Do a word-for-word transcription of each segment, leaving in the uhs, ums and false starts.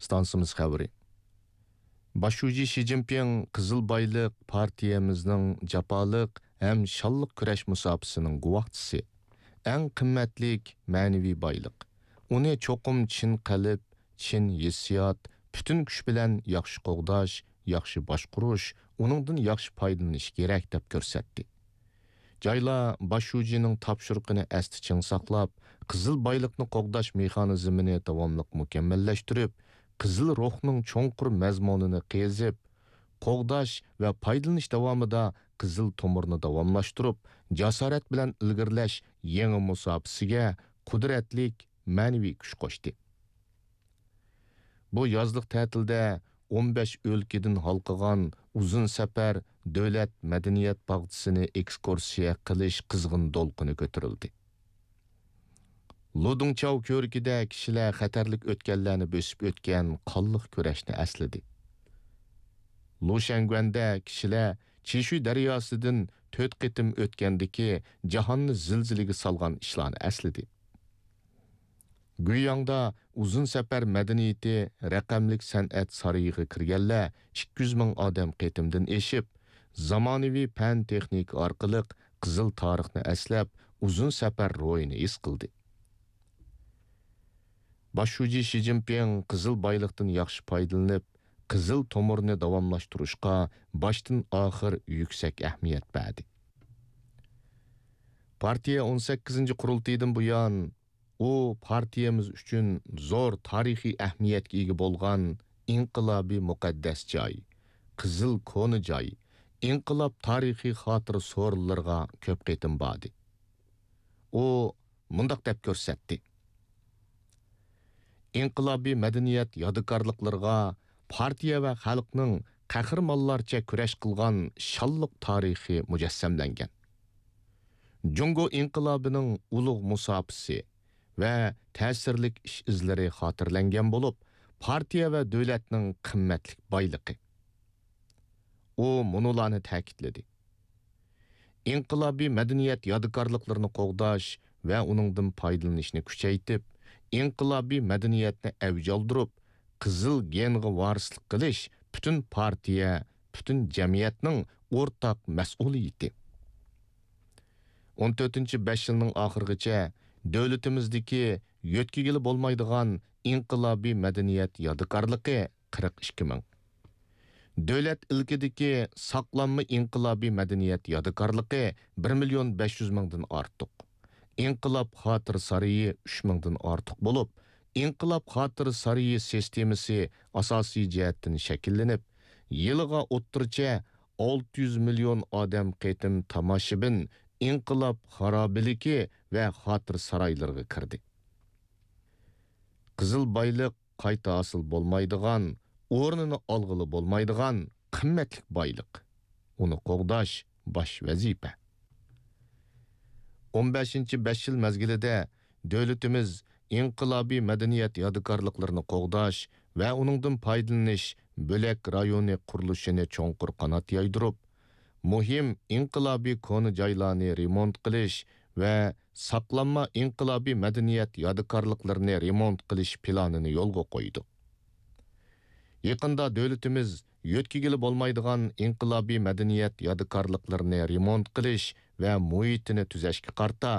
ئىستانسىمىز خەۋىرى. باش شۇجى شى جىنپىڭ قىزىل بايلىق پارتىيەمىزنىڭ جاپالىق ھەم شانلىق كۈرەش مۇساپىسىنىڭ گۇۋاھچىسى، ئەڭ قىممەتلىك مەنىۋى بايلىق. ئۇنى چوقۇم چىن قەلب، چىن ھېسسىيات، پۈتۈن كۈچ بىلەن ياخشى قوغداش، ياخشى باشقۇرۇش، ئۇنىڭدىن ياخشى پايدىلىنىش كېرەك، دەپ كۆرسەتتى. جايلا باش شۇجىنىڭ تاپشۇرۇقىنى ئەستە چىڭ ساقلاپ، قىزىل بايلىقنى قوغداش مېخانىزمىنى داۋاملىق مۇكەممەللەشتۈرۈپ، قىزىل روھنىڭ چوڭقۇر مەزمۇنىنى قېزىپ، قوغداش ۋە پايدىلىنىش داۋامىدا قىزىل تومۇرنى داۋاملاشتۇرۇپ، جاسارەت بىلەن ئىلگىرىلەش يېڭى مۇساپىسىگە قۇدرەتلىك مەنىۋى كۈچ قوشتى. بۇ يازلىق تەتىلدە ئون بەش ئۆلكىدىن ھالقىغان ئۇزۇن سەپەر دۆلەت مەدەنىيەت باغچىسىنى ئېكسكۇرسىيە قىلىش قىزغىن دولقۇنى كۆتۈرۈلدى. لۇدۇڭچاۋ كۆۋرۈكىدە كىشىلەر خەتەرلىك ئۆتكەللەرنى بۆسۈپ ئۆتكەن قانلىق كۈرەشنى ئەسلىدى. لۇشەنگۈەندە كىشىلەر چىشۈي دەرياسىدىن تۆت قېتىم ئۆتكەندىكى جاھاننى زىلزىلىگە سالغان ئىشلارنى ئەسلىدى. گۇياڭدا ئۇزۇن سەپەر مەدەنىيىتى رەقەملىك سەنئەت سارىيىغا كىرگەنلەر ئىككى يۈز مىڭ ئادەم قېتىمدىن ئېشىپ، زامانىۋى پەن-تېخنىكا ئارقىلىق قىزىل تارىخنى ئەسلەپ، ئۇزۇن سەپەر روھىنى ھېس قىلدى. باش شۇجى شى جىنپىڭ قىزىل بايلىقتىن ياخشى پايدىلىنىپ، قىزىل تومۇرنى داۋاملاشتۇرۇشقا باشتىن ئاخىر يۈكسەك ئەھمىيەت بەردى. پارتىيە ئون سەككىزىنچى قۇرۇلتىيىدىن بۇيان، ئۇ پارتىيەمىز ئۈچۈن زور تارىخىي ئەھمىيەتكە ئىگە بولغان ئىنقىلابىي مۇقەددەس جاي، قىزىل كونا جاي، ئىنقىلاب تارىخىي خاتىرە سورۇنلىرىغا كۆپ قېتىم باردى. ئۇ مۇنداق دەپ كۆرسەتتى: ئىنقىلابىي مەدەنىيەت يادىكارلىقلىرىغا پارتىيە ۋە خەلقنىڭ قەھرىمانلارچە كۈرەش قىلغان شانلىق تارىخى مۇجەسسەملەنگەن. جۇڭگو ئىنقىلابىنىڭ ئۇلۇغ مۇساپىسى ۋە تەسىرلىك ئىش ئىزلىرى خاتىرىلەنگەن بولۇپ، پارتىيە ۋە دۆلەتنىڭ قىممەتلىك بايلىقى. ئۇ مۇنۇلارنى تەكىتلىدى: ئىنقىلابىي مەدەنىيەت يادىكارلىقلىرىنى قوغداش ۋە ئۇنىڭدىن پايدىلىنىشنى كۈچەيتىپ، ئىنقىلابىي مەدەنىيەتنى ئەۋج ئالدۇرۇپ، قىزىل گېنغا ۋارىسلىق قىلىش پۈتۈن پارتىيە، پۈتۈن جەمئىيەتنىڭ ئورتاق مەسئۇلىيىتى. ئون تۆتىنچى بەش يىلنىڭ ئاخىرىغىچە دۆلىتىمىزدىكى يۆتكىگىلى بولمايدىغان ئىنقىلابىي مەدەنىيەت يادىكارلىقى قىرىق ئىككى مىڭ. دۆلەت ئىلكىدىكى ساقلانما ئىنقىلابىي مەدەنىيەت يادىكارلىقى بىر مىليون بەش يۈز مىڭدىن ئارتۇق. ئىنقىلاب خاتىرە سارىيى ئۈچ مىڭدىن ئارتۇق بولۇپ، ئىنقىلاب خاتىرە سارىيى سىستېمىسى ئاساسىي جەھەتتىن شەكىللىنىپ، يىلىغا ئوتتۇرىچە ئالتە يۈز مىليون ئادەم قېتىم تاماشىبىن ئىنقىلاب خارابىلىكى ۋە خاتىرە سارايلىرىغا كىردى. قىزىل بايلىق قايتا ھاسىل بولمايدىغان، ئورنىنى ئالغىلى بولمايدىغان قىممەتلىك بايلىق. ئۇنى قوغداش باش ۋەزىپە. ئون بەشىنچى بەش يىل مەزگىلىدە دۆلىتىمىز ئىنقىلابىي مەدەنىيەت يادىكارلىقلىرىنى قوغداش ۋە ئۇنىڭدىن پايدىلىنىش بۆلەك رايونى قۇرۇلۇشىنى چوڭقۇر قانات يايدۇرۇپ، مۇھىم ئىنقىلابىي كونا جايلارنى رېمونت قىلىش ۋە ساقلانما ئىنقىلابىي مەدەنىيەت يادىكارلىقلىرىنى رېمونت قىلىش پىلانىنى يولغا قويدۇق. يېقىندا دۆلىتىمىز يۆتكىگىلى بولمايدىغان ئىنقىلابىي مەدەنىيەت يادىكارلىقلىرىنى رېمونت قىلىش ۋە مۇھىتىنى تۈزەشكە قارىتا،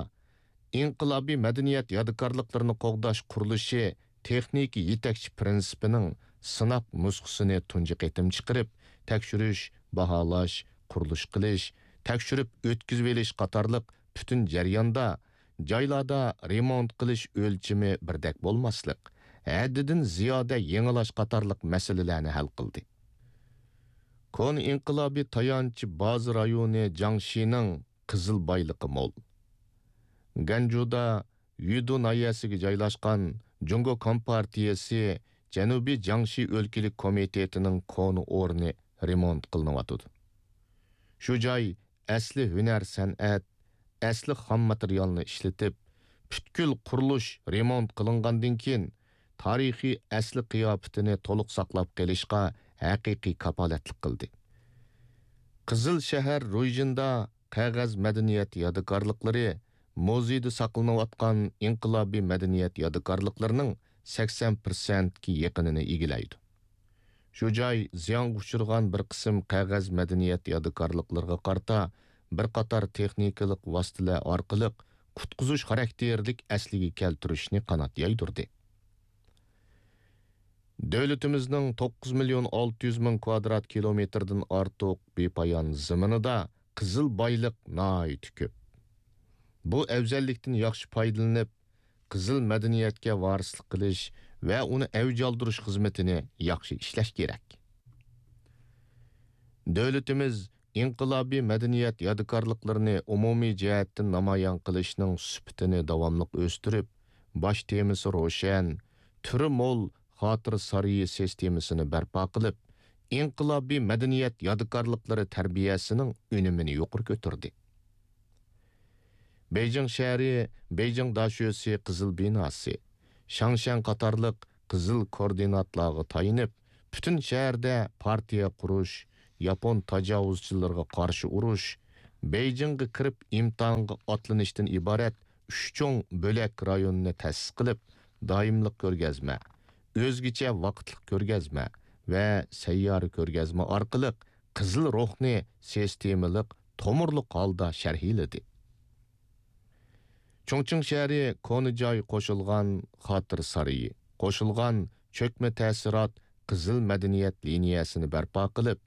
ئىنقىلابىي مەدەنىيەت يادىكارلىقلىرىنى قوغداش قۇرۇلۇشى تېخنىكا يېتەكچى پىرىنسىپىنىڭ سىناق نۇسخىسىنى تۇنجى قېتىم چىقىرىپ، تەكشۈرۈش، باھالاش، قۇرۇلۇش قىلىش، تەكشۈرۈپ ئۆتكۈزۈۋېلىش قاتارلىق پۈتۈن جەرياندا جايلاردا رېمونت قىلىش ئۆلچىمى بىردەك بولماسلىق، ھەددىدىن زىيادە يېڭىلاش قاتارلىق مەسىلىلەرنى ھەل قىلدى. كونا ئىنقىلابىي تايانچ بازا رايونى جاڭشىنىڭ قىزىل بايلىقى مول. گەنجۇدا يۈدۇ ناھىيەسىگە جايلاشقان جۇڭگو كومپارتىيەسى جەنۇبىي جياڭشى ئۆلكىلىك كومىتېتىنىڭ كونا ئورنى رېمونت قىلىنىۋاتىدۇ. شۇ جاي ئەسلى ھۈنەر سەنئەت، ئەسلى خام ماتېرىيالنى ئىشلىتىپ، پۈتكۈل قۇرۇلۇش رېمونت قىلىنغاندىن كېيىن، تارىخىي ئەسلى قىياپىتىنى تولۇق ساقلاپ قېلىشقا ھەقىقىي كاپالەتلىك قىلدى. قىزىل شەھەر رويجىندا قەغەز مەدەنىيەت يادىكارلىقلىرى، مۇزېيدا ساقلىنىۋاتقان ئىنقىلابىي مەدەنىيەت يادىكارلىقلىرىنىڭ سەكسەن پىرسەنتكە يېقىنىنى ئىگىلەيدۇ. شۇ جاي زىيانغا ئۇچرىغان بىر قىسىم قەغەز مەدەنىيەت يادىكارلىقلىرىغا قارىتا بىر قاتار تېخنىكىلىق ۋاسىتىلەر ئارقىلىق قۇتقۇزۇش خاراكتېرلىك ئەسلىگە كەلتۈرۈشنى قانات يايدۇردى. دۆلىتىمىزنىڭ توققۇز مىليون ئالتە يۈز مىڭ كۋادرات كىلومېتىردىن ئارتۇق بىپايان زېمىنىدا قىزىل بايلىق ناھايىتى كۆپ. بۇ ئەۋزەللىكتىن ياخشى پايدىلىنىپ، قىزىل مەدەنىيەتكە ۋارىسلىق قىلىش ۋە ئۇنى ئەۋج ئالدۇرۇش خىزمىتىنى ياخشى ئىشلەش كېرەك. دۆلىتىمىز ئىنقىلابىي مەدەنىيەت يادىكارلىقلىرىنى ئومۇمىي جەھەتتىن نامايان قىلىشنىڭ سۈپىتىنى داۋاملىق ئۆستۈرۈپ، باش تېمىسى روشەن، تۈرى مول خاتىرە سارىيى سىستېمىسىنى بەرپا قىلىپ، ئىنقىلابىي مەدەنىيەت يادىكارلىقلىرى تەربىيەسىنىڭ ئۈنۈمىنى يۇقىرى كۆتۈردى. بېيجىڭ شەھىرى، بېيجىڭ داشۆسى قىزىل بىناسى، شاڭشەن قاتارلىق قىزىل كوردىناتلارغا تايىنىپ، پۈتۈن شەھەردە پارتىيە قۇرۇش، ياپون تاجاۋۇزچىلىرىغا قارشى ئۇرۇش، بېيجىڭغا كىرىپ ئىمتىھانغا ئاتلىنىشتىن ئىبارەت ئۈچ چوڭ بۆلەك رايونىنى تەسىس قىلىپ، دائىملىق كۆرگەزمە، ئۆزگىچە ۋاقىتلىق كۆرگەزمە ۋە سەييارە كۆرگەزمە ئارقىلىق قىزىل روھنى سىستېمىلىق، تومۇرلۇق ھالدا شەرھلىدى. چۇڭچىڭ شەھىرى كونا جاي قوشۇلغان خاتىرە سارىيى، قوشۇلغان چۆكمە تەسىرات قىزىل مەدەنىيەت لىنىيەسىنى بەرپا قىلىپ،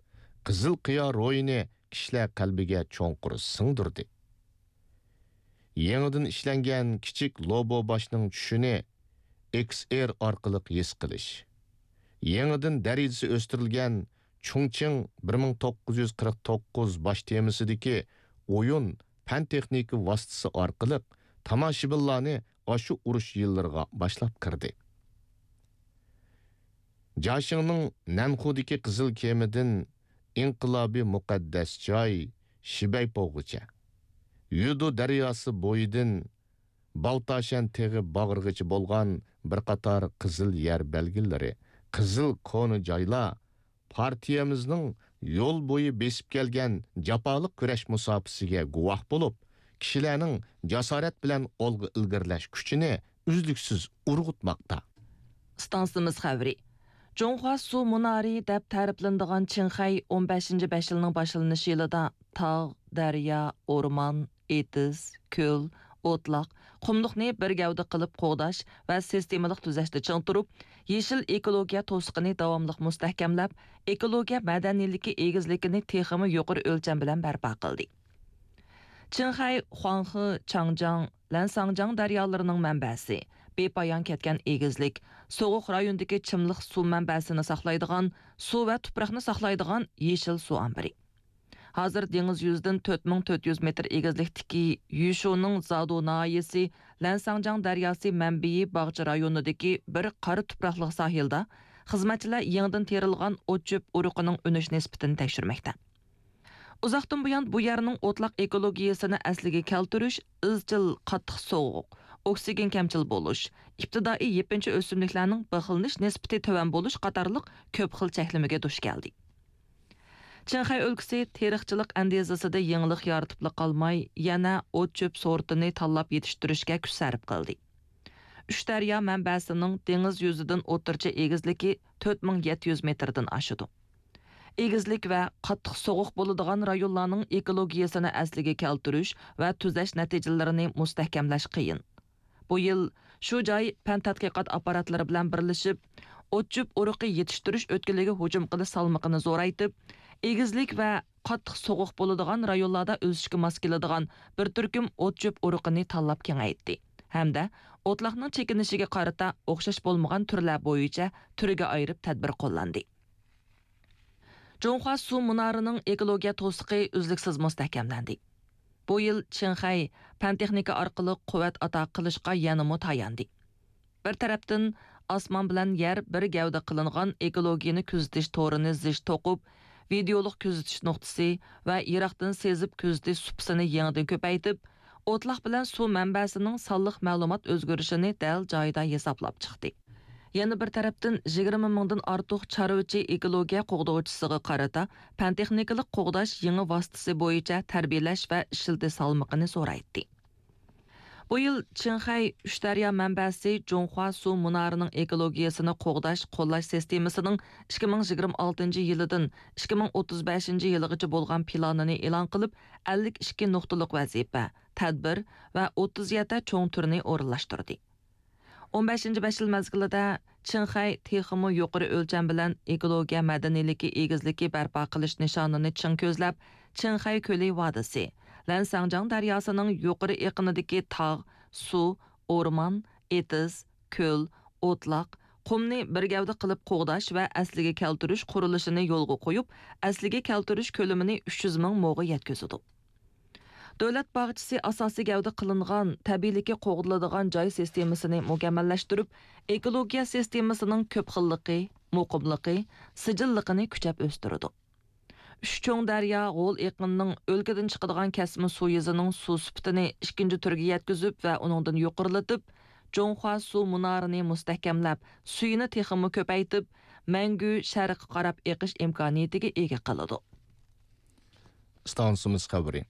قىزىل قىيا روھىنى كىشىلەر قەلبىگە چوڭقۇر سىڭدۈردى. يېڭىدىن ئىشلەنگەن كىچىك لوبو باشنىڭ چۈشىنى ئېكس ئېر ئارقىلىق ھېس قىلىش، يېڭىدىن دەرىجىسى ئۆستۈرۈلگەن چۇڭچىڭ بىر مىڭ توققۇز يۈز قىرىق توققۇز باش تېمىسىدىكى ئويۇن پەن-تېخنىكا ۋاسىتىسى ئارقىلىق تاماشىبىنلارنى ئاشۇ ئۇرۇش يىللىرىغا باشلاپ كىردى. جاشىڭنىڭ نەنخۇدىكى قىزىل كېمىدىن ئىنقىلابىي مۇقەددەس جاي شىبەيپوغىچە، يۈدۇ دەرياسى بويىدىن بالتاشەن تېغى باغرىغىچە بولغان بىر قاتار قىزىل يەر بەلگىلىرى، قىزىل كونا جايلار پارتىيەمىزنىڭ يول بويى بېسىپ كەلگەن جاپالىق كۈرەش مۇساپىسىگە گۇۋاھ بولۇپ، كىشىلەرنىڭ جاسارەت بىلەن ئالغا ئىلگىرىلەش كۈچىنى ئۈزلۈكسىز ئۇرغۇتماقتا. ئىستانسىمىز خەۋىرى. جۇڭخۇا سۇ مۇنارى دەپ تەرىپلىنىدىغان چىڭخەي ئون بەشىنچى بەش يىلنىڭ باشلىنىش يىلىدا تاغ، دەريا، ئورمان، ئېتىز، كۆل، ئوتلاق، قۇملۇقنى بىر گەۋدە قىلىپ قوغداش ۋە سىستېمىلىق تۈزەشتە چىڭ تۇرۇپ، يېشىل ئېكولوگىيە توسۇقىنى داۋاملىق مۇستەھكەملەپ، ئېكولوگىيە مەدەنىيلىكى ئېگىزلىكىنى تېخىمۇ يۇقىرى ئۆلچەم بىلەن بەرپا قىلدى. چىڭخەي، خۇاڭخې، چاڭجياڭ، لەنساڭجياڭ دەريالىرىنىڭ مەنبەسى، بىپايان كەتكەن ئېگىزلىك، سوغۇق رايوندىكى چىملىق سۇ مەنبەسىنى ساقلايدىغان، سۇ ۋە تۇپراقنى ساقلايدىغان يېشىل سۇ ئامبىرى. ھازىر دېڭىز يۈزىدىن تۆت مىڭ تۆت يۈز مېتىر ئېگىزلىكتىكى يۈشۇنىڭ زادۇ ناھىيەسى لەنساڭجياڭ دەرياسى مەنبىيى باغچە رايونىدىكى بىر قارا تۇپراقلىق ساھىلدا خىزمەتچىلەر يېڭىدىن تېرىلغان ئوت-چۆپ ئۇرۇقىنىڭ ئۈنۈش نىسبىتىنى تەكشۈرمەكتە. ئۇزاقتىن بۇيان بۇ يەرنىڭ ئوتلاق ئېكولوگىيەسىنى ئەسلىگە كەلتۈرۈش، ئىزچىل قاتتىق سوغۇق، ئوكسىگېن كەمچىل بولۇش، ئىپتىدائىي يېپىنچا ئۆسۈملۈكلەرنىڭ بىخلىنىش نىسبىتى تۆۋەن بولۇش قاتارلىق كۆپ خىل چەكلىمىگە دۇچ كەلدى. چىڭخەي ئۆلكىسى تېرىقچىلىق ئەندىزىسىدە يېڭىلىق يارىتىپلا قالماي، يەنە ئوت-چۆپ سورتىنى تاللاپ يېتىشتۈرۈشكە كۈچ سەرپ قىلدى. ئۈچ دەريا مەنبەسىنىڭ دېڭىز يۈزىدىن ئوتتۇرىچە ئېگىزلىكى تۆت مىڭ يەتتە يۈز مېتىردىن ئاشىدۇ. ئېگىزلىك ۋە قاتتىق سوغۇق بولىدىغان رايونلارنىڭ ئېكولوگىيەسىنى ئەسلىگە كەلتۈرۈش ۋە تۈزەش نەتىجىلىرىنى مۇستەھكەملەش قىيىن. بۇ يىل شۇ جاي پەن تەتقىقات ئاپپاراتلىرى بىلەن بىرلىشىپ، ئوت-چۆپ ئۇرۇقى يېتىشتۈرۈش ئۆتكىلىگە ھۇجۇم قىلىش سالمىقىنى زورايتىپ، ئېگىزلىك ۋە قاتتىق سوغۇق بولىدىغان رايونلاردا ئۆسۈشكە ماس كېلىدىغان بىر تۈركۈم ئوت-چۆپ ئۇرۇقىنى تاللاپ كېڭەيتتى ھەمدە ئوتلاقنىڭ چېكىنىشىگە قارىتا ئوخشاش بولمىغان تۈرلەر بويىچە تۈرگە ئايرىپ تەدبىر قوللاندى. جۇڭخۇا سۇ مۇنارىنىڭ ئېكولوگىيە توسۇقى ئۈزلۈكسىز مۇستەھكەملەندى. بۇ يىل چىڭخەي پەن-تېخنىكا ئارقىلىق قۇۋۋەت ئاتا قىلىشقا يەنىمۇ تاياندى. بىر تەرەپتىن، ئاسمان بىلەن يەر بىر گەۋدە قىلىنغان ئېكولوگىيەنى كۆزىتىش تورىنى زىچ توقۇپ، ۋىدېئولۇق كۆزىتىش نۇقتىسى ۋە يىراقتىن سېزىپ كۆزىتىش سۇپىسىنى يېڭىدىن كۆپەيتىپ، ئوتلاق بىلەن سۇ مەنبەسىنىڭ سانلىق مەلۇمات ئۆزگىرىشىنى دەل جايىدا ھېسابلاپ چىقتى. يەنە بىر تەرەپتىن، يىگىرمە مىڭدىن ئارتۇق چارۋىچى ئېكولوگىيە قوغدىغۇچىسىغا قارىتا پەن-تېخنىكىلىق قوغداش يېڭى ۋاسىتىسى بويىچە تەربىيەلەش ۋە ئىشلىتىش سالمىقىنى زورايتتى. بۇ يىل چىڭخەي ئۈچ دەريا مەنبەسى جۇڭخۇا سۇ مۇنارىنىڭ ئېكولوگىيەسىنى قوغداش، قوللاش سىستېمىسىنىڭ ئىككى مىڭ يىگىرمە ئالتىنچى يىلىدىن ئىككى مىڭ ئوتتۇز بەشىنچى يىلىغىچە بولغان پىلانىنى ئېلان قىلىپ، ئەللىك ئىككى نۇقتىلىق ۋەزىپە، تەدبىر ۋە ئوتتۇز يەتتە چوڭ تۈرنى ئورۇنلاشتۇردى. ئون بەشىنچى بەش يىل مەزگىلىدە چىڭخەي تېخىمۇ يۇقىرى ئۆلچەم بىلەن ئېكولوگىيە مەدەنىيلىكى ئېگىزلىكى بەرپا قىلىش نىشانىنى چىڭ كۆزلەپ، چىڭخەي كۆلى ۋادىسى، لەنساڭجاڭ دەرياسىنىڭ يۇقىرى ئېقىنىدىكى تاغ، سۇ، ئورمان، ئېتىز، كۆل، ئوتلاق، قۇمنى بىر گەۋدە قىلىپ قوغداش ۋە ئەسلىگە كەلتۈرۈش قۇرۇلۇشىنى يولغا قويۇپ، ئەسلىگە كەلتۈرۈش كۆلىمىنى ئۈچ يۈز مىڭ موغا يەتكۈزىدۇ. دۆلەت باغچىسى ئاساسىي گەۋدە قىلىنغان تەبىئىيلىكى قوغدىلىدىغان جاي سىستېمىسىنى مۇكەممەللەشتۈرۈپ، ئېكولوگىيە سىستېمىسىنىڭ كۆپ خىللىقى، مۇقىملىقى، سىجىللىقىنى كۈچەپ ئۆستۈرىدۇ. ئۈچ چوڭ دەريا غول ئېقىنىنىڭ ئۆلكىدىن چىقىدىغان كەسمە سۇ يۈزىنىڭ سۇ سۈپىتىنى ئىككىنچى تۈرگە يەتكۈزۈپ ۋە ئۇنىڭدىن يۇقىرىلىتىپ، جۇڭخۇا سۇ مۇنارىنى مۇستەھكەملەپ، سۈيىنى تېخىمۇ كۆپەيتىپ، مەڭگۈ شەرققە قاراپ ئېقىش ئىمكانىيىتىگە ئىگە قىلىدۇ. ئىستانسىمىز خەۋىرى.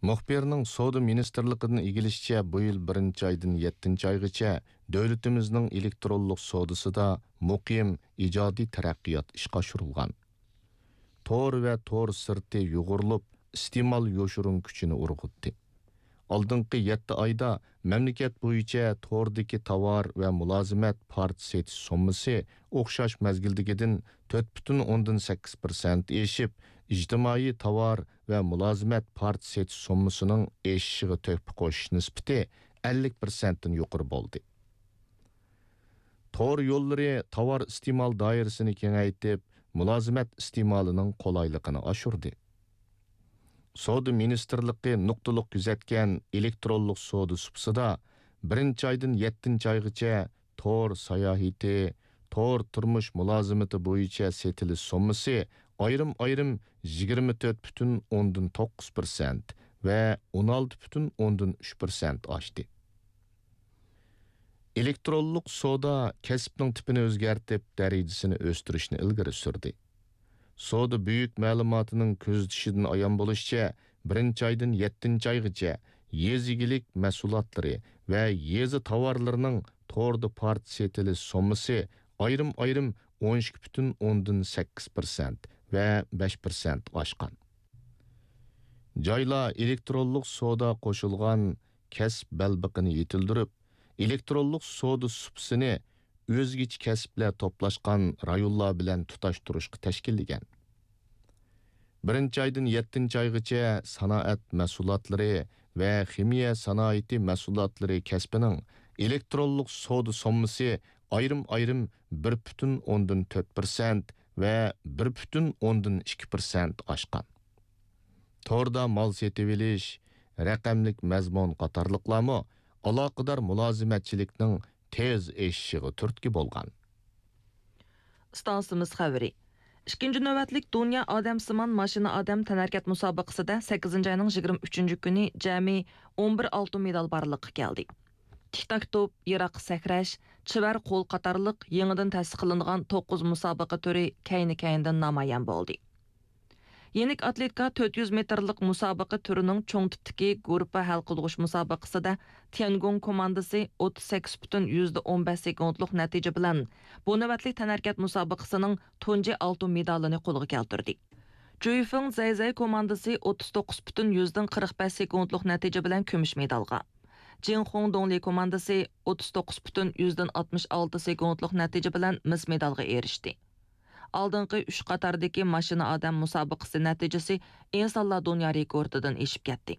مۇخبىرنىڭ سودا مىنىستىرلىقىدىن ئىگىلىشىچە، بۇ يىل بىرىنچى ئايدىن يەتتىنچى ئايغىچە دۆلىتىمىزنىڭ ئېلېكترونلۇق سودىسىدا مۇقىم ئىجادىي تەرەققىيات ئىشقا ئاشۇرۇلغان. تور ۋە تور سىرتى يۇغۇرۇلۇپ، ئىستېمال يوشۇرۇن كۈچىنى ئۇرغۇتتى. ئالدىنقى يەتتە ئايدا مەملىكەت بويىچە توردىكى تاۋار ۋە مۇلازىمەت پارچە سېتىش سوممىسى ئوخشاش مەزگىلدىكىدىن تۆت پۈتۈن ئوندىن سەككىز پىرسەنت ئېشىپ، ئىجتىمائىي تاۋار ۋە مۇلازىمەت پارچە سېتىش سوممىسىنىڭ ئېشىشىغا تۆھپە قوشۇش نىسبىتى ئەللىك پىرسەنتتىن يۇقىرى بولدى. تور يوللىرى تاۋار ئىستېمال دائىرىسىنى كېڭەيتىپ، مۇلازىمەت ئىستېمالىنىڭ قولايلىقىنى ئاشۇردى. سودا مىنىستىرلىقى نۇقتىلىق كۆزەتكەن ئېلېكترونلۇق سودا سۇپىسىدا بىرىنچى ئايدىن يەتتىنچى ئايغىچە تور ساياھىتى، تور تۇرمۇش مۇلازىمىتى بويىچە سېتىلىش سوممىسى ئايرىم-ئايرىم يىگىرمە تۆت پۈتۈن ئوندىن توققۇز پىرسەنت ۋە ئون ئالتە پۈتۈن ئوندىن ئۈچ پىرسەنت ئاشتى. ئېلېكترونلۇق سودا كەسىپنىڭ تىپىنى ئۆزگەرتىپ، دەرىجىسىنى ئۆستۈرۈشنى ئىلگىرى سۈردى. سودا بۈيۈك مەلۇماتىنىڭ كۆزىتىشىدىن ئايان بولۇشىچە، بىرىنچى ئايدىن يەتتىنچى ئايغىچە يېزا ئىگىلىك مەھسۇلاتلىرى ۋە يېزا تاۋارلىرىنىڭ توردا پارچە سېتىلىش سوممىسى ئايرىم-ئايرىم ئون ئىككى پۈتۈن ئوندىن سەككىز پىرسەنت ۋە بەش پىرسەنت ئاشقان. جايلار ئېلېكترونلۇق سودا قوشۇلغان كەسىپ بەلبېقىنى يېتىلدۈرۈپ، ئېلېكترونلۇق سودا سۇپىسىنى ئۆزگىچە كەسىپلەر توپلاشقان رايونلار بىلەن تۇتاشتۇرۇشقا تەشكىللىگەن. بىرىنچى ئايدىن يەتتىنچى ئايغىچە سانائەت مەھسۇلاتلىرى ۋە خىمىيە سانائىتى مەھسۇلاتلىرى كەسپىنىڭ ئېلېكترونلۇق سودا سوممىسى ئايرىم-ئايرىم بىر پۈتۈن ئوندىن تۆت پىرسەنت ۋە بىر پۈتۈن ئوندىن ئىككى پىرسەنت ئاشقان. توردا مال سېتىۋېلىش، رەقەملىك مەزمۇن قاتارلىقلارمۇ ئالاقىدار مۇلازىمەتچىلىكنىڭ تېز ئېشىشىغا تۈرتكە بولغان. ئىستانسىمىز خەۋىرى. ئىككىنچى نۆۋەتلىك دۇنيا ئادەمسىمان ماشىنا ئادەم تەنھەرىكەت مۇسابىقىسىدە سەككىزىنچى ئاينىڭ يىگىرمە ئۈچىنچى كۈنى جەمئىي ئون بىر ئالتۇن مېدال بارلىققا كەلدى. تىك تاك توپ، يىراق سەكرەش، چېۋەر قول قاتارلىق يېڭىدىن تەسىس قىلىنغان توققۇز مۇسابىقە تۈرى كەينى-كەينىدىن نامايان بولدى. يېنىك ئاتلېتىكا تۆت يۈز مېتىرلىق مۇسابىقە تۈرىنىڭ چوڭ تىپتىكى گۇرۇپپا ھەل قىلغۇچ مۇسابىقىسىدە تيەنگوڭ كوماندىسى ئوتتۇز سەككىز پۈتۈن يۈزدە ئون بەش سېكۇنتلۇق نەتىجە بىلەن بۇ نۆۋەتلىك تەنھەرىكەت مۇسابىقىسىنىڭ تۇنجى ئالتۇن مېدالىنى قولغا كەلتۈردى. جۈيفېڭ زەيزەي كوماندىسى ئوتتۇز توققۇز پۈتۈن يۈزدىن قىرىق بەش سېكۇنتلۇق نەتىجە بىلەن كۈمۈش مېدالغا، جىڭخۇڭ دۇڭلى كوماندىسى ئوتتۇز توققۇز پۈتۈن يۈزدىن ئاتمىش ئالتە سېكۇنتلۇق نەتىجە بىلەن مىس مېدالغا ئېرىشتى. ئالدىنقى ئۈچ قاتاردىكى ماشىنا ئادەم مۇسابىقىسى نەتىجىسى ئىنسانلار دۇنيا رېكورتىدىن ئېشىپ كەتتى.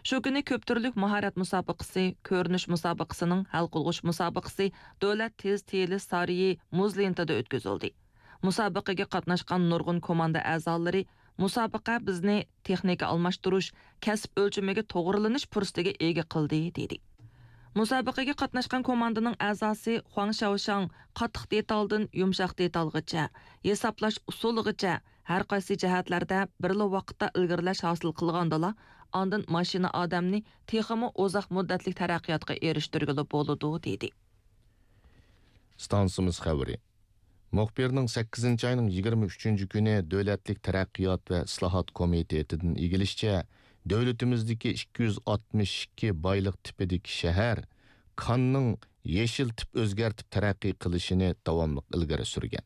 شۇ كۈنى كۆپ تۈرلۈك ماھارەت مۇسابىقىسى، كۆرۈنۈش مۇسابىقىسىنىڭ ھەل قىلغۇچ مۇسابىقىسى دۆلەت تېز تىيىلىش سارىيى مۇز لېنتىدا ئۆتكۈزۈلدى. مۇسابىقىگە قاتناشقان نۇرغۇن كوماندا ئەزالىرى، مۇسابىقە بىزنى تېخنىكا ئالماشتۇرۇش، كەسىپ ئۆلچىمىگە توغرىلىنىش پۇرسىتىگە ئىگە قىلدى، دېدى. مۇسابىقىگە قاتناشقان كوماندىنىڭ ئەزاسى خۇاڭ شياۋشاڭ قاتتىق دېتالدىن يۇمشاق دېتالغىچە، ھېسابلاش ئۇسۇلىغىچە ھەر قايسى جەھەتلەردە بىرلا ۋاقىتتا ئىلگىرىلەش ھاسىل قىلغاندىلا، ئاندىن ماشىنا ئادەمنى تېخىمۇ ئۇزاق مۇددەتلىك تەرەققىياتقا ئېرىشتۈرگىلى بولىدۇ، دېدى. ئىستانسىمىز خەۋىرى. مۇخبىرنىڭ سەككىزىنچى ئاينىڭ يىگىرمە ئۈچىنچى كۈنى دۆلەتلىك تەرەققىيات ۋە ئىسلاھات كومىتېتىدىن ئىگىلىشىچە، دۆلىتىمىزدىكى ئىككى يۈز ئاتمىش ئىككى بايلىق تىپىدىكى شەھەر كاننىڭ يېشىل تىپ ئۆزگەرتىپ تەرەققىي قىلىشىنى داۋاملىق ئىلگىرى سۈرگەن.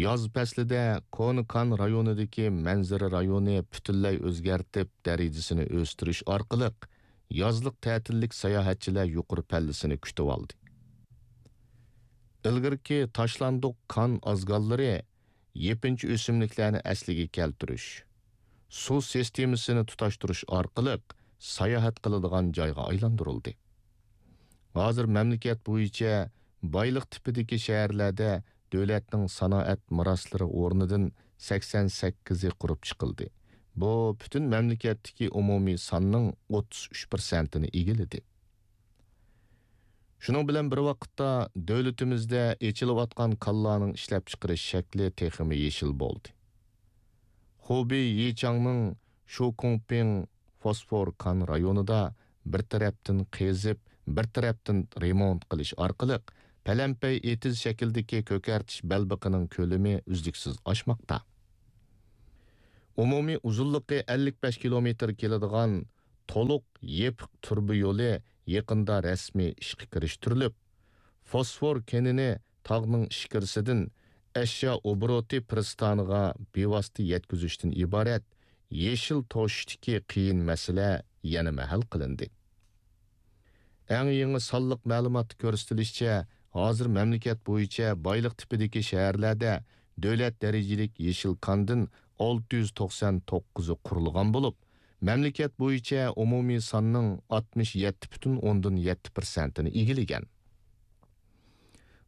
ياز پەسلىدە كونا كان رايونىدىكى مەنزىرە رايونى پۈتۈنلەي ئۆزگەرتىپ، دەرىجىسىنى ئۆستۈرۈش ئارقىلىق، يازلىق تەتىللىك ساياھەتچىلەر يۇقىرى پەللىسىنى كۈتۈۋالدى. ئىلگىرىكى تاشلاندۇق كان ئازگاللىرى يېپىنچا ئۆسۈملۈكلەرنى ئەسلىگە كەلتۈرۈش، سۇ سىستېمىسىنى تۇتاشتۇرۇش ئارقىلىق ساياھەت قىلىدىغان جايغا ئايلاندۇرۇلدى. ھازىر مەملىكەت بويىچە بايلىق تىپىدىكى شەھەرلەردە دۆلەتنىڭ سانائەت مىراسلىرى ئورنىدىن سەكسەن سەككىزى قۇرۇپ چىقىلدى. بۇ پۈتۈن مەملىكەتتىكى ئومۇمىي ساننىڭ ئوتتۇز ئۈچ پىرسەنتىنى ئىگىلىدى. شۇنىڭ بىلەن بىر ۋاقىتتا، دۆلىتىمىزدە ئېچىلىۋاتقان كانلارنىڭ ئىشلەپچىقىرىش شەكلى تېخىمۇ يېشىل بولدى. خۇبېي يىچاڭنىڭ شۇكۇڭپىڭ فوسفور كان رايونىدا بىر تەرەپتىن قېزىپ، بىر تەرەپتىن رېمونت قىلىش ئارقىلىق، پەلەمپەي ئېتىز شەكلىدىكى كۆكەرتىش بەلبېقىنىڭ كۆلىمى ئۈزلۈكسىز ئاشماقتا. ئومۇمىي ئۇزۇنلۇقى ئەللىك بەش كىلومېتىر كېلىدىغان تولۇق يېپىق تۇرۇبا يولى يېقىندا رەسمىي ئىشقا كىرىشتۈرۈلۈپ، فوسفور كېنىنى تاغنىڭ ئىچكىرىسىدىن ئەشيا ئوبوروتى پىرىستانىغا بىۋاسىتە يەتكۈزۈشتىن ئىبارەت يېشىل توشۇشتىكى قىيىن مەسىلە يەنىمۇ ھەل قىلىندى. ئەڭ يېڭى سانلىق مەلۇماتتا كۆرسىتىلىشىچە، ھازىر مەملىكەت بويىچە بايلىق تىپىدىكى شەھەرلەردە دۆلەت دەرىجىلىك يېشىل كاندىن ئالتە يۈز توقسان توققۇزى قۇرۇلغان بولۇپ، مەملىكەت بويىچە ئومۇمىي ساننىڭ ئاتمىش يەتتە پۈتۈن ئوندىن يەتتە پىرسەنتىنى ئىگىلىگەن.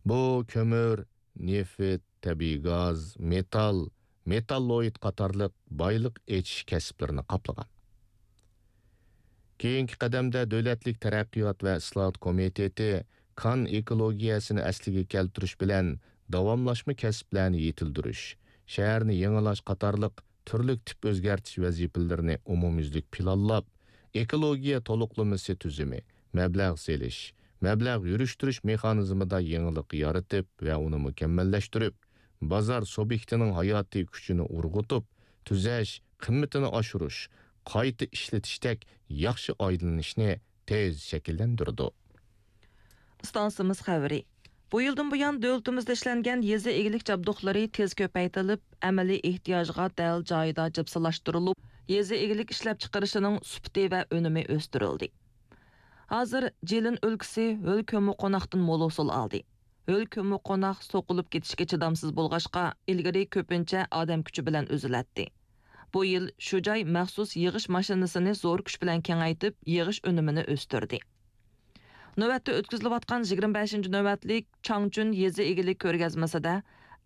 بۇ كۆمۈر، نېفىت، تەبىئىي گاز، مېتال، مېتاللوئىد قاتارلىق بايلىق ئېچىش كەسىپلىرىنى قاپلىغان. كېيىنكى قەدەمدە دۆلەتلىك تەرەققىيات ۋە ئىسلاھات كومىتېتى كان ئېكولوگىيەسىنى ئەسلىگە كەلتۈرۈش بىلەن داۋاملاشما كەسىپلەرنى يېتىلدۈرۈش، شەھەرنى يېڭىلاش قاتارلىق تۈرلۈك تىپ ئۆزگەرتىش ۋەزىپىلىرىنى ئومۇميۈزلۈك پىلانلاپ، ئېكولوگىيە تولۇقلىمىسى تۈزۈمى، مەبلەغ سېلىش، مەبلەغ يۈرۈشتۈرۈش مېخانىزمىدا يېڭىلىق يارىتىپ ۋە ئۇنى مۇكەممەللەشتۈرۈپ، بازار سۇبيېكتىنىڭ ھاياتىي كۈچىنى ئۇرغۇتۇپ، تۈزەش، قىممىتىنى ئاشۇرۇش، قايتا ئىشلىتىشتەك ياخشى ئايلىنىشنى تېز شەكىللەندۈرىدۇ. ئىستانسىمىز خەۋىرى. بۇ يىلدىن بۇيان، دۆلىتىمىزدە ئىشلەنگەن يېزا ئىگىلىك جابدۇقلىرى تېز كۆپەيتىلىپ، ئەمەلىي ئېھتىياجغا دەل جايىدا جىپسىلاشتۇرۇلۇپ، يېزا ئىگىلىك ئىشلەپچىقىرىشىنىڭ سۈپىتى ۋە ئۈنۈمى ئۆستۈرۈلدى. ھازىر جىلىن ئۆلكىسى ھۆل كۆممىقوناقتىن مول ھوسۇل ئالدى. ھۆل كۆممىقوناق سوقۇلۇپ كېتىشكە چىدامسىز بولغاچقا، ئىلگىرى كۆپىنچە ئادەم كۈچى بىلەن ئۈزۈلەتتى. بۇ يىل شۇ جاي مەخسۇس يىغىش ماشىنىسىنى زور كۈچ بىلەن كېڭەيتىپ، يىغىش ئۈنۈمىنى ئۆستۈردى. نۆۋەتتە ئۆتكۈزۈلۈۋاتقان يىگىرمە بەشىنچى نۆۋەتلىك چاڭچۈن يېزا ئىگىلىك كۆرگەزمىسىدە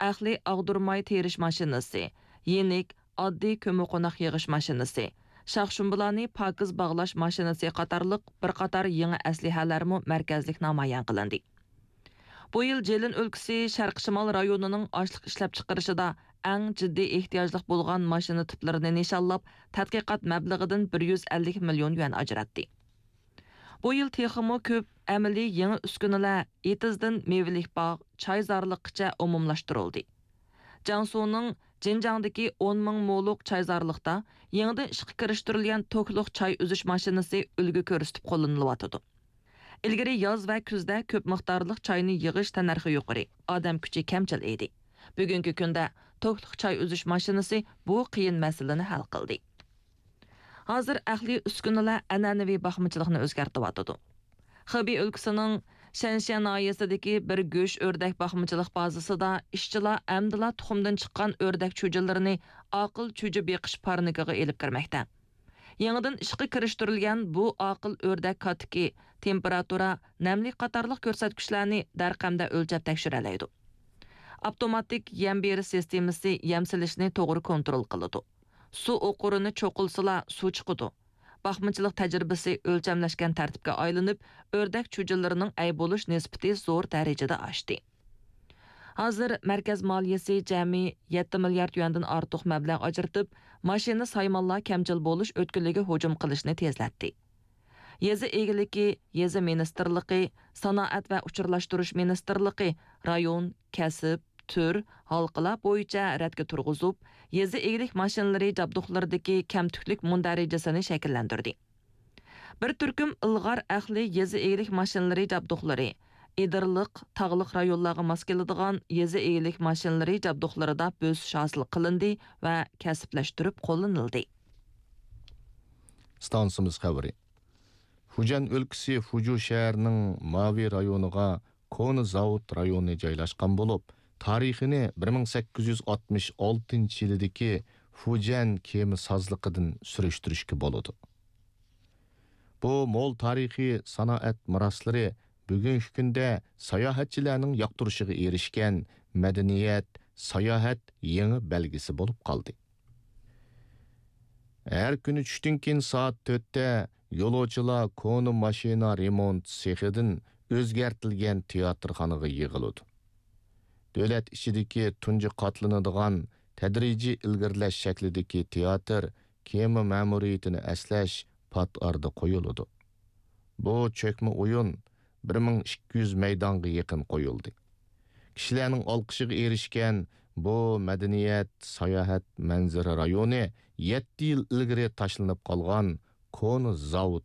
ئەقلىي ئاغدۇرماي تېرىش ماشىنىسى، يېنىك، ئاددىي كۆممىقوناق يىغىش ماشىنىسى، شاخشۇمبىلارنى پاكىز باغلاش ماشىنىسى قاتارلىق بىر قاتار يېڭى ئەسلىھەلەرمۇ مەركەزلىك نامايان قىلىندى. بۇ يىل جىلىن ئۆلكىسى شەرقىي شىمال رايونىنىڭ ئاشلىق ئىشلەپچىقىرىشىدا ئەڭ جىددىي ئېھتىياجلىق بولغان ماشىنا تىپلىرىنى نىشانلاپ، تەتقىقات مەبلىغىدىن بىر يۈز ئەللىك مىليون يۈەن ئاجراتتى. بۇ يىل تېخىمۇ كۆپ ئەمەلىي يېڭى ئۈسكۈنىلەر ئېتىزدىن مېۋىلىك باغ، چايزارلىققىچە ئومۇملاشتۇرۇلدى. جياڭسۇنىڭ جىنجاڭدىكى ئون مىڭ مولۇق چايزارلىقتا يېڭىدىن ئىشقا كىرىشتۈرۈلگەن توكلۇق چاي ئۈزۈش ماشىنىسى ئۈلگە كۆرسىتىپ قوللىنىلىۋاتىدۇ. ئىلگىرى ياز ۋە كۈزدە كۆپ مىقدارلىق چاينى يىغىش تەننەرخى يۇقىرى، ئادەم كۈچى كەمچىل ئىدى. بۈگۈنكى كۈندە توكلۇق چاي ئۈزۈش ماشىنىسى بۇ قىيىن مەسىلىنى ھەل قىلدى. ھازىر ئەقلىي ئۈسكۈنىلەر ئەنئەنىۋى باقمىچىلىقنى ئۆزگەرتىۋاتىدۇ. خېبېي ئۆلكىسىنىڭ شەنشيەن ناھىيەسىدىكى بىر گۆش ئۆردەك باقمىچىلىق بازىسىدا ئىشچىلار ئەمدىلا تۇخۇمدىن چىققان ئۆردەك چۈجىلىرىنى ئاقىل چۈجە بېقىش پارنىكىغا ئېلىپ كىرمەكتە. يېڭىدىن ئىشقا كىرىشتۈرۈلگەن بۇ ئاقىل ئۆردەك كاتىكى تېمپېراتۇرا، نەملىك قاتارلىق كۆرسەتكۈچلەرنى دەرقەمدە ئۆلچەپ تەكشۈرەلەيدۇ. ئاپتوماتىك يەم بېرىش سىستېمىسى يەم سېلىشنى توغرا كونترول قىلىدۇ. سۇ ئوقۇرىنى چوقۇلسىلا، سۇ چىقىدۇ. باقمىچىلىق تەجرىبىسى ئۆلچەملەشكەن تەرتىپكە ئايلىنىپ، ئۆردەك چۈجىلىرىنىڭ ئەي بولۇش نىسبىتى زور دەرىجىدە ئاشتى. ھازىر مەركەز مالىيىسى جەمئىي يەتتە مىليارد يۈەندىن ئارتۇق مەبلەغ ئاجرىتىپ، ماشىنا سايمانلار كەمچىل بولۇش ئۆتكىلىگە ھۇجۇم قىلىشنى تېزلەتتى. يېزا ئىگىلىكى، يېزا مىنىستىرلىقى، سانائەت ۋە ئۇچۇرلاشتۇرۇش مىنىستىرلىقى، رايون، كەسىپ، تۈر، ھالقىلار بويىچە رەتكە تۇرغۇزۇپ، يېزا ئىگىلىك ماشىنىلىرى جابدۇقلىرىدىكى كەمتۈكلۈك مۇندەرىجىسىنى شەكىللەندۈردى. بىر تۈركۈم ئىلغار ئەھلى يېزا ئىگىلىك ماشىنىلىرى جابدۇقلىرى، ئېدىرلىق، تاغلىق رايونلارغا ماس كېلىدىغان يېزا ئىگىلىك ماشىنىلىرى جابدۇقلىرىدا بۆسۈش ھاسىل قىلىندى ۋە كەسىپلەشتۈرۈپ قوللىنىلدى. ئىستانسىمىز خەۋىرى. فۇجيەن ئۆلكىسى فۇجۇ شەھىرىنىڭ ماۋى رايونىغا كونا زاۋۇت رايونى جايلاشقان بولۇپ، تارىخىنى بىر مىڭ سەككىز يۈز ئاتمىش ئالتىنچى يىلىدىكى فۇجيەن كېمە سازلىقىدىن سۈرۈشتۈرۈشكە بولىدۇ. بۇ مول تارىخىي سانائەت مىراسلىرى بۈگۈنكى كۈندە ساياھەتچىلەرنىڭ ياقتۇرۇشىغا ئېرىشكەن مەدەنىيەت، ساياھەت يېڭى بەلگىسى بولۇپ قالدى. ھەر كۈنى چۈشتىن كېيىن سائەت تۆتتە يولۇچىلار كونا ماشىنا رېمونت سېخىدىن ئۆزگەرتىلگەن تىياتىرخانىغا يىغىلىدۇ. دۆلەت ئىچىدىكى تۇنجى قاتلىنىدىغان تەدرىجىي ئىلگىرىلەش شەكلىدىكى تىياتىر كېمە مەمۇرىيىتىنى ئەسلەش پات ئارىدا قويۇلىدۇ. بۇ چۆكمە ئويۇن بىر مىڭ ئىككى يۈز مەيدانغا يېقىن قويۇلدى. كىشىلەرنىڭ ئالقىشىغا ئېرىشكەن بۇ مەدەنىيەت، ساياھەت، مەنزىرە رايونى يەتتە يىل ئىلگىرى تاشلىنىپ قالغان كونا زاۋۇت